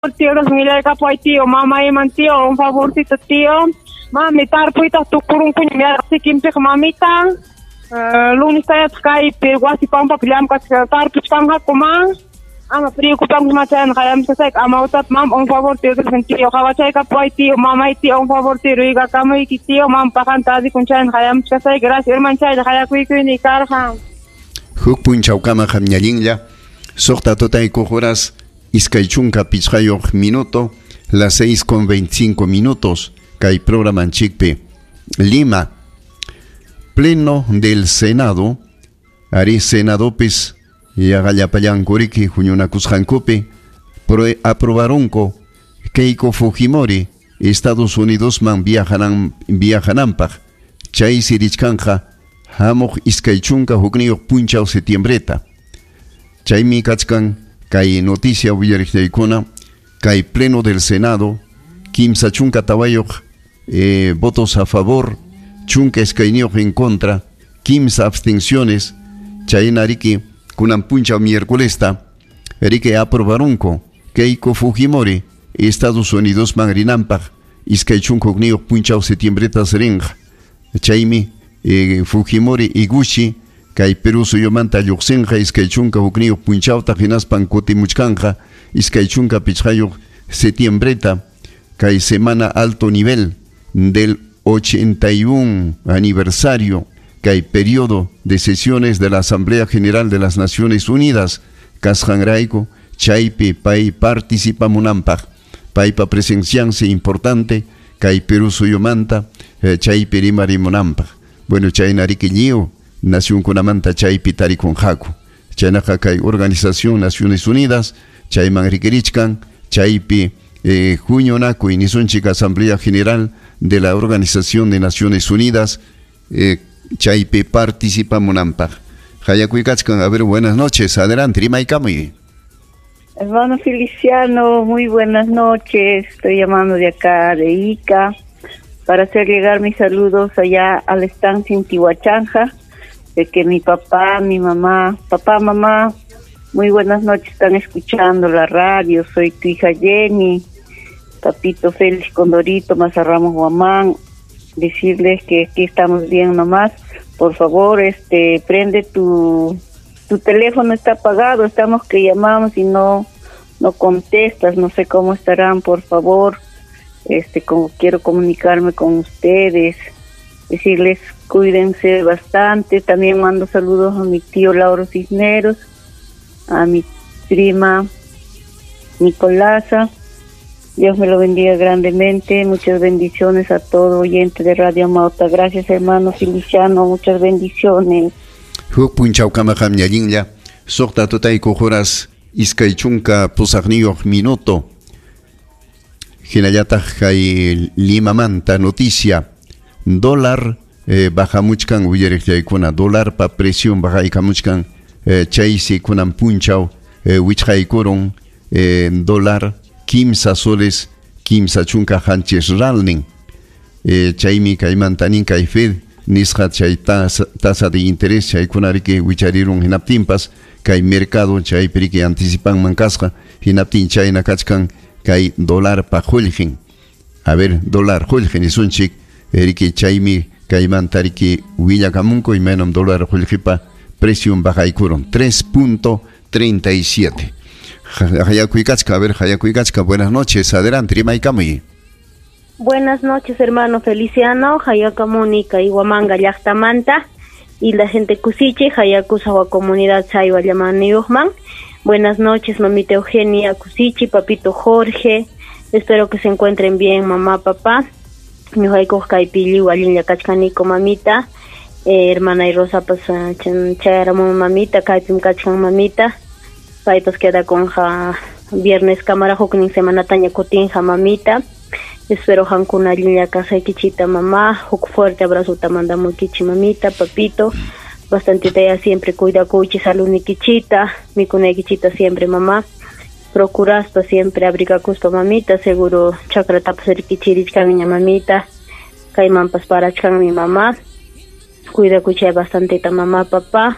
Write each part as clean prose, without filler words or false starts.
Tío, kapuway tío, mamá iman tío, un favorcito tío. Mami, tarpuyta tukurunkuña sikinpiq mamita. Lunes tayataq kaypi wasi pampapi llamk'achka tarpuchkanqaku ma. Ama preocupanku machayana qayamsasayki amawtata mama un favor tío, tío, qhawachaykapuway tío, mamay tío, un favor tío, ruykakamuyki tío, mama paqanta adikun chayna qayamchkasayki, gracias hermano chaylla qayakuykuyni karqa. Huk punchawkama qamñallinlla suqta tutaykuq horas 25 minuto, las 6:25 kay programanchikpi Lima, pleno del Senado, ari Senadopis yaqallapallankuriki huñunakusqankupi aprobaronko Keiko Fujimori Estados Unidos man viajananpaq chaysi richkanqa hamuq 21 punchaw setiembreta. Chaymi kachkan kay noticia willariqllaykuna kay pleno del Senado 34 votos a favor, 12 en contra, 15 abstenciones, chaynariki kunan punchaw miércolesta riki aprobaronko Keiko Fujimori Estados Unidos man rinanpaq 21 punchaw setiembreta rinqa. Chaymi Fujimori Iguchi kay Perú suyumanta lluqsinqa 21 punchawta hinaspan kutimuchkanqa 25 setiembreta kay semana alto nivel del 81 aniversario kay periodo de sesiones de la Asamblea General de las Naciones Unidas kasqanrayku chaypi pay participamunanpaq paypa presenciansi importante kay Perú suyumanta chaypi rimarimunanpaq. Bueno, chaynariki lliw nacionkunamanta chaypi tarikunqaku. Chaynaqa kay Organización Naciones Unidas chayman rikirichkan chaypi huñunakuy nisunchik Asamblea General de la Organización de Naciones Unidas chaypi participamunanpaq. Hayakuykachkan, a ver, buenas noches, adelante, rimaykamuy. Hermano Feliciano, muy buenas noches, estoy llamando de acá, de Ica, para hacer llegar mis saludos allá a la estancia en Tihuachanja, de que mi papá, mi mamá, papá, mamá, muy buenas noches, están escuchando la radio, soy tu hija Jenny, papito Félix Condorito, Mazarramos Guamán, decirles que aquí estamos bien nomás, por favor, prende tu teléfono, está apagado, estamos que llamamos y no contestas, no sé cómo estarán, por favor, como quiero comunicarme con ustedes, decirles cuídense bastante, también mando saludos a mi tío Lauro Cisneros, a mi prima Nicolasa, Dios me lo bendiga grandemente, muchas bendiciones a todo oyente de Radio Amauta, gracias hermano Feliciano, muchas bendiciones. Huk punchawkama qamñallinlla suqta tutaykuq horas 28 minuto. Hinallataq kay Limamanta noticia, dólar bajamuchkan willariqllaykuna, dólarpa presión bajaykamuchkan chaysi kunan punchaw wichqaykurun dólar 15 soles 37 ralnin. Chaymi kaymanta nin kay Fed nisqa chay tasa de interés chaykunariki wicharirun hinaptinpas kay mercado chaypiriki anticipanman kasqa hinaptin chayna kachkan kay dólarpa qullqin. A ver, dólar qullqin nisunchik riki chaymi kaymanta riki willakamunku imaynam dólar qullqipa precion bajaykurun 3.37. Hayakuykachka, a ver, Hayakuykachka, buenas noches, adelante, rimaykamuy. Buenas noches, hermano Feliciano, Hayakamuni kay Huamanga llaqtamanta y la gente Kusichi, Hayakusawa comunidad Chaywa llamaniyuqman. Buenas noches, mamita Eugenia Kusichi, papito Jorge, espero que se encuentren bien, mamá, papá. Ñuqaykuq kaypi lliw allinlla kachkaniko, mamita. Hermana y Rosa pues chayaramun mamita, kaypim kachkan mamita. Paypas queda con ja viernes cámara huknin semanataña kutinqa mamita. Espero hankuna allinlla kasaykichita mamá, huk fuerte abrazo mandamuykichi mamita, papito. Bastante ya siempre cuidakuychi saludnikichita, mikunaykichita siempre mamá. Procuraspa siempre abrigakuspa mamita, seguro chakratapas rikichirichkanña mamita, kaymanpas parachkanmi mamá. Cuidakuychi bastantita mamá, papá.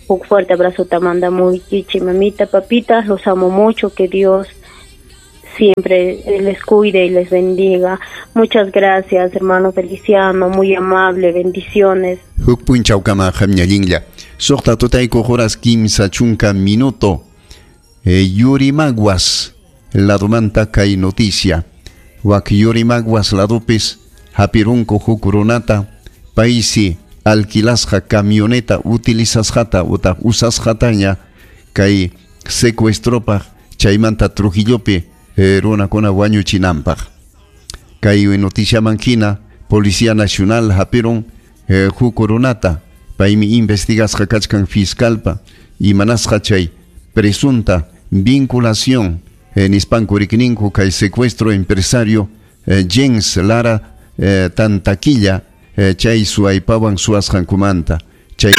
Un fuerte abrazo te mandamuykichi mamita, papita, los amo mucho, que Dios siempre les cuide y les bendiga. Muchas gracias, hermano Feliciano, muy amable, bendiciones. Huk punchawkama qamñallinlla. Suqta tutayku horas 30 minuto. Yurimaguas ladomanta kay noticia. Wak Yurimaguas ladupis hapirunku huk runata paysi alquilasqa camioneta utilizasqata utaq usasqataña kay secuestropaq chaymanta Trujillopi runakuna wañuchinanpaq. Kay noticiaman hina Policía Nacional hapirun huk runata paymi investigasqa kachkan fiscalpa imanasqa chay presunta vinculación nispanku rikninku kay secuestro empresario Jens Lara Tantaquilla chay suaypawan suasqankumanta chay.